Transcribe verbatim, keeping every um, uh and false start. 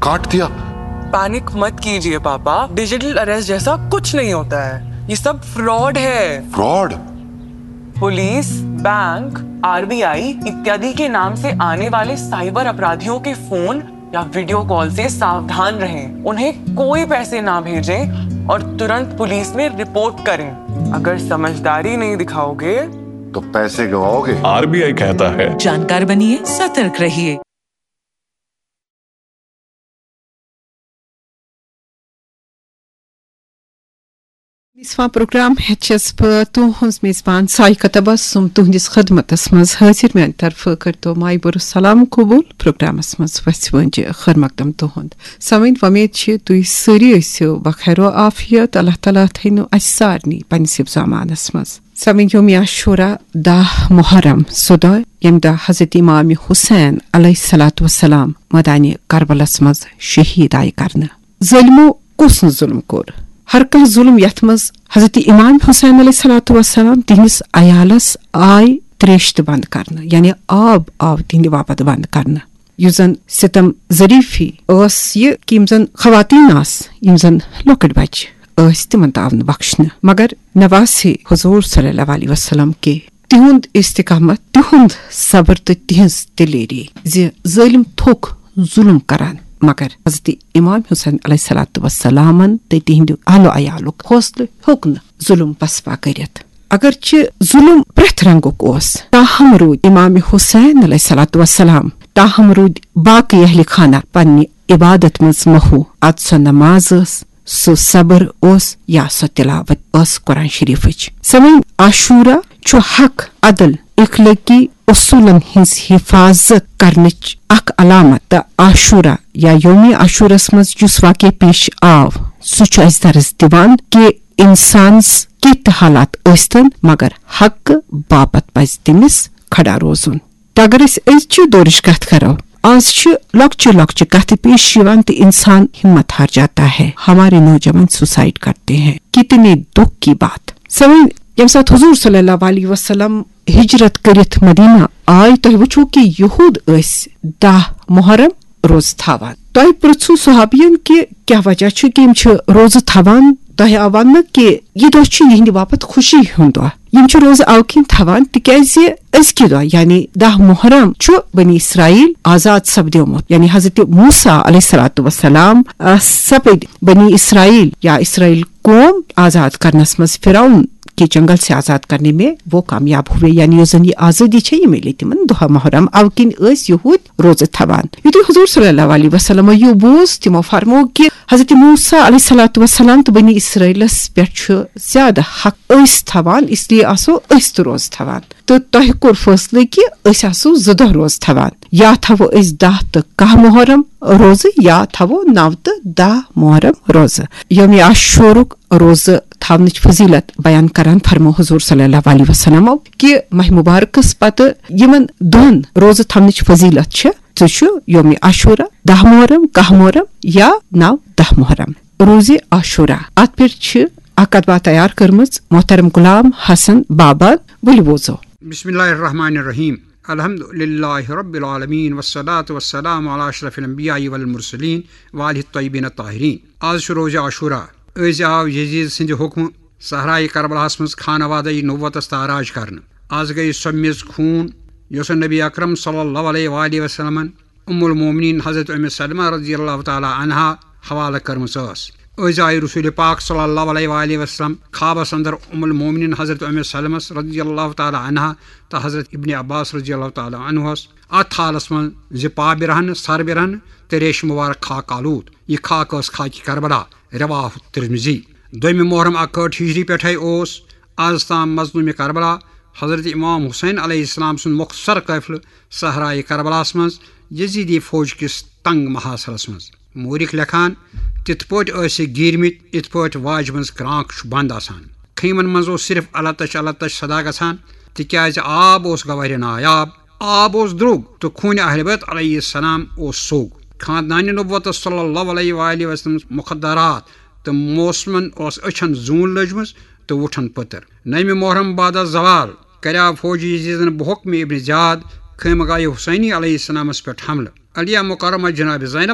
काट दिया। पैनिक मत कीजिए पापा, डिजिटल अरेस्ट जैसा कुछ नहीं होता है। ये सब फ्रॉड है। फ्रॉड? पुलिस, बैंक, आरबीआई इत्यादि के नाम से आने वाले साइबर अपराधियों के फोन या वीडियो कॉल से सावधान रहें। उन्हें कोई पैसे ना भेजें और तुरंत पुलिस में रिपोर्ट करें। अगर समझदारी नहीं दिखाओगे तो पैसे गवाओगे। आरबीआई कहता है, जानकार बनिए, सतर्क रहिए। میزبان پروگرام ہیٚتھ چھَس بہٕ تُہٕنٛز میزبان سائقہ تبسم تُہٕنٛدِس خدمتس منٛز حٲضِر۔ میٛانہِ طرفہٕ کٔرۍتو مایہِ بٔرُس سلام قبوٗل۔ پروگرامس منٛز وژھِ وٲنٛجہِ خٲر مقدم تُہُنٛد۔ سامعیٖن، وۄمید چھِ تُہۍ سٲری ٲسِو بخیر و عافیت۔ اللہ تعالیٰ تھٲینو اَسہِ سارنٕے پننِس حفظ و امانس منٛز۔ سامعیٖن، یوم عاشورہ دَہ محرم، سُہ دۄہ ییٚمہِ دۄہ حضرت امام حسین علیہ الصلوۃ والسلام مٲدانِ کربلس منٛز شہید آیہِ کرنہٕ۔ ظٲلمو کُس نہٕ ظُلم کوٚر؟ ہر کانٛہہ ظُلم، یتھ منٛز حضرت امام حسین علیہ الصلوۃ والسلام تِہنٛدِس عیالس آے تریش تہٕ بنٛد کرنہٕ، یعنی آب آو تِہنٛدِ باپتھ بنٛد کرنہٕ۔ یُس زن ستم ظریفی ٲس یہِ کہِ یِم زن خواتین آسہٕ، یِم زن لۄکٕٹۍ بچہِ ٲسۍ، تِمن تہِ آو نہٕ بخشنہٕ۔ مگر نواسہِ حضور صلی اللہ علیہ وسلم کہِ تِہُنٛد استقامت، تِہُنٛد صبر تہٕ تِہنٛز دلیری زِ ظٲلم تھوٚک ظُلم کران، مگر حضرت امام حسین علیہ الصلوۃ والسلامن تہٕ تِہنٛدِ اہل و عیالُک حوصلہٕ ہیوٚک نہٕ ظُلم پسپا کٔرِتھ۔ اگرچہِ ظُلم پرٛٮ۪تھ رنگُک اوس، تاہم روٗدۍ امام حسین علیہ الصلوۃ والسلام، تاہم روٗدۍ باقٕے اہلِ خانہ پننہِ عبادت منٛز محو۔ اد سۄ نماز ٲس، سُہ صبر اوس، یا سۄ تلاوت ٲس قرآن شریفٕچ۔ سامعیٖن، عاشورہ چھُ حق، عدل، اخلٲقی اصوٗلن ہٕنٛز حفاظت کرنٕچ اکھ علامت، تہٕ عاشورہ یا یوم عاشورس منٛز یُس واقعہ پیش آو، سُہ چھُ اَسہِ درس دِوان کہِ انسانس کینٛہہ تہِ حالات ٲسۍتن، مگر حق باپتھ پزِ تٔمِس کھڑا روزُن۔ تہٕ اگر أسۍ أزچہِ دورٕچ کتھ کرو، آز چھِ لۄکچہِ لۄکچہِ کتھٕ پیش یِوان تہٕ انسان ہمت ہار جاتا ہے۔ ہمارے نوجوان سوسائیڈ کرتے ہیں، کتنے دکھ کی بات۔ سامعیٖن، ییٚمہِ ساتہٕ حضور صلی اللہ علیہ وسلم ہجرت کٔرِتھ مدینہ آے، تۄہہِ وٕچھو کہِ یہود ٲسۍ دَہ محرم روزٕ تھاوان۔ تۄہہِ پرٛژھوٗ صحابین کہِ کیٛاہ وجہ چھُ کہِ یِم چھِ روزٕ تھاوان؟ تۄہہِ آو وننہٕ کہِ یہِ دۄہ چھُ یِہنٛدِ باپتھ خوشی ہُنٛد دۄہ۔ یِم چھِ روزٕ اَوٕ کِنۍ تھاوان تِکیٛازِ أزکہِ دۄہ، یعنی دَہ محرم، چھُ بنی اسرائیل آزاد سپدیومُت، یعنی حضرت موسیٰ علیہ الصلوۃ والسلام، آ، سپٕدۍ بنی اسرائیل یا اسرائیل قوم آزاد کرنس منٛز، فرعون کے جنگل سے آزاد کرنے میں وہ کامیاب ہوئے، یعنی یۄس زن یہِ آزٲدی چھےٚ، یہِ میلے تِمن دَہ محرم۔ اَوٕ کِنۍ ٲسۍ یہود روزٕ تھاوان۔ یُتھُے حضور صلی اللہ علیہ وسلم یہِ بوٗز، تِمو فرموو کہِ حضرت موسیٰ علیہ الصلوۃ والسلام تہٕ بنی اسرائیلس پٮ۪ٹھ چھُ زیادٕ حق أسۍ تھاوان، اس لیے آسو أسۍ تہِ روزٕ تھاوان۔ تہٕ تۄہہِ کوٚر فٲصلہٕ کہِ أسۍ آسو زٕ دۄہ روزٕ تھاوان، یا تھاوو أسۍ دَہ تہٕ کاہ محرم روزٕ، یا تھاوو نَو تہٕ دَہ محرم روزٕ۔ یوم عاشورُک روزٕ تھاونٕچ فضیلت بیان کران فرمو حضور صلی اللہ علیہ وسلمو کہِ ماہ مبارکس پتہٕ یِمن دۄن روزٕ تھاونٕچ فضیلت چھِ، سُہ چھُ یوم عاشورہ، دَہ محرم، کاہ محرم یا نَو دَہ محرم۔ روزِ عاشورہ، اتھ پٮ۪ٹھ چھِ اکھ کتبہ تیار کٔرمٕژ محترم غلام حسن بابا۔ ؤلِو بوزو۔ بسم اللہ الرحمن الرحیم۔ الحمد للہ رب العالمین، والصلاة والسلام علی اشرف الانبیاء والمرسلین، وآلہ الطیبین الطاہرین۔ آز چھُ روزِ عاشورہ۔ أزۍ آو یزید سٕنٛدِ حُکمہٕ صحرائے کربلاہس منٛز خانوادہ نبوتس تاراج کرنہٕ۔ آز گٔیہِ سۄ میٚژ خوٗن، یۄسہٕ نبی اکرم صلی اللہ علیہ وآلہ وسلمن ام المومنین حضرت ام سلمہ رضی اللہ تعالیٰ عنہا حوالہٕ کٔرمٕژ ٲس۔ أزۍ آیہِ رسول پاک صلی اللہ علیہ وآلہ وسلم خوابس اندر ام المومنین حضرت ام سلمس رضی اللہ تعالیٰ عنہا تہٕ حضرت ابن عباس رضی اللہ تعالیٰ عنہس اتھ حالس منٛز زِ پا برہنہٕ، سر برہنہٕ تہٕ ریشہِ مبارک خاک آلود۔ یہِ خاک ٲس خاکِ کربلا۔ رواہ ترمذی۔ دوٚیمہِ محرم اکہٕ ہٲٹھ ہجری پٮ۪ٹھے اوس از تام مظلوم کربلا حضرت امام حسین علیہ السلام سُنٛد مختصر قٲفلہٕ صحرائے کربلاہس منٛز یزیدی فوج کِس تنگ محاصرس منٛز۔ مورخ لیکھان، تِتھ پٲٹھۍ ٲسۍ یہِ گیٖرمٕتۍ، یِتھ پٲٹھۍ واجہِ منٛز کرٛانٛک چھُ بنٛد آسان۔ خیمن منٛز اوس صرف التش التش صدا گژھان، تِکیازِ آب اوس گوہرِ نایاب۔ آب اوس درٛوگ تہٕ خوٗنہِ اہل بیت علیہ السلام اوس سوٚگ۔ خاندانِ نبوتس صلی اللہ علیہ وآلہ وسلم مخدرات تہٕ موسمن اوس أچھن زوٗن لٔجمٕژ تہٕ وُٹھن پٔتٕر۔ نَوِ محرم بعد از زوال کریاو فوجی یزیدن بحکم ابن زیاد خیمگاہ حسینی علیہ السلامس پٮ۪ٹھ حملہٕ۔ علیہ مکرمہ جناب زینب